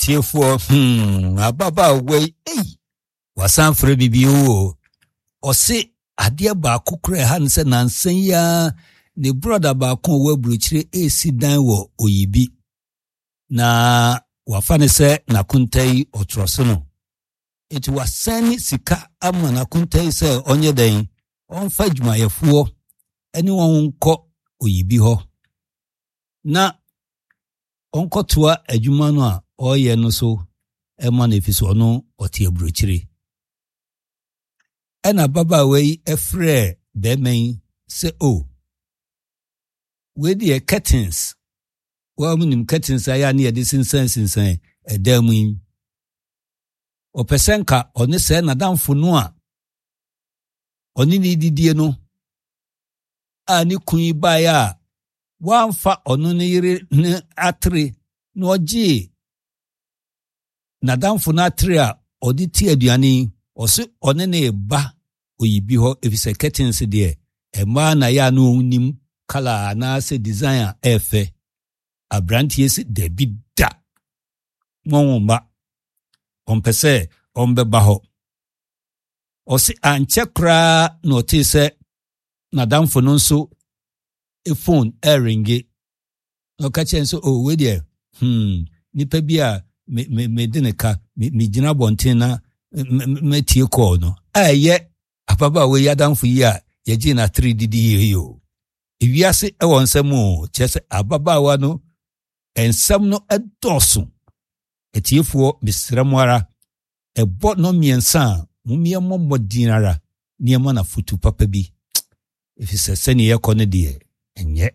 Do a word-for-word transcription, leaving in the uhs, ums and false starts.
Tiefoɔ, hmm, ababaawa yi, ei, wasan frɛ me bio o. Ɔse adeɛ baako kora ɛha no sɛ nansa yi ara ne brɔda baako a ɔwɔ aburokyire resi dan wɔ Oyibi. Na wafa ne sɛ n'akonta yi ɔtorɔ so no. Enti wasan ne sika ama n'akonta yi sɛ ɔnyɛ dɛn, ɔmfa adwumayɛfoɔ ne wɔn nkɔ Oyibi hɔ na ɔnkɔtoa adwuma no a ɔreyɛ no so ma no ɛfiri sɛ ɔno ɔte aburokyire. Ɛna ababaawa yi frɛɛ bɛrima yi sɛ o, oh, wei deɛ curtains, wɔn nim curtains a yɛ a ne yɛde sensɛn sensɛn ɛdan mu yi. Ɔpɛ sɛ nka ɔne sɛ n'adamfo no a ɔne ne didie no a ne kun yi baeɛ a wamfa ɔno ne yere ne atere na ɔgyee n'adamfo no atere a ɔde ti aduane yi, ɔse ɔne ne ba oyibi hɔ efisɛ curtains deɛ mmaa na yɛ a na ɔnim colour anaasɛ design a ɛɛfɛ. Aberanteɛ si dabi da, wɔn mma, ɔmpɛ sɛ ɔmbɛba hɔ. Ɔse ankyɛ koraa na ɔtee sɛ n'adamfo no nso phone ɛreringe na ɔka kyerɛ no sɛ oh wei deɛ hmm nipa bi a me me mede ne ka me megyina abɔnten na mɛtie kɔɔ no a ɛyɛ ababaawa yi adamfo yi a yɛgye n'atere didi yie yi o. Ewiase ɛwɔ nsɛm o, kyerɛ sɛ ababaawa no nsɛm no ɛdɔɔso. Atiefoɔ, mesrɛ mo ara, ɛbɔ no mmiɛnsa a mommyɛ mmɔ mmɔden ara nneɛma na fotu papa bi, ɛfiri sɛ sɛnea yɛkɔ no deɛ ɛnyɛ.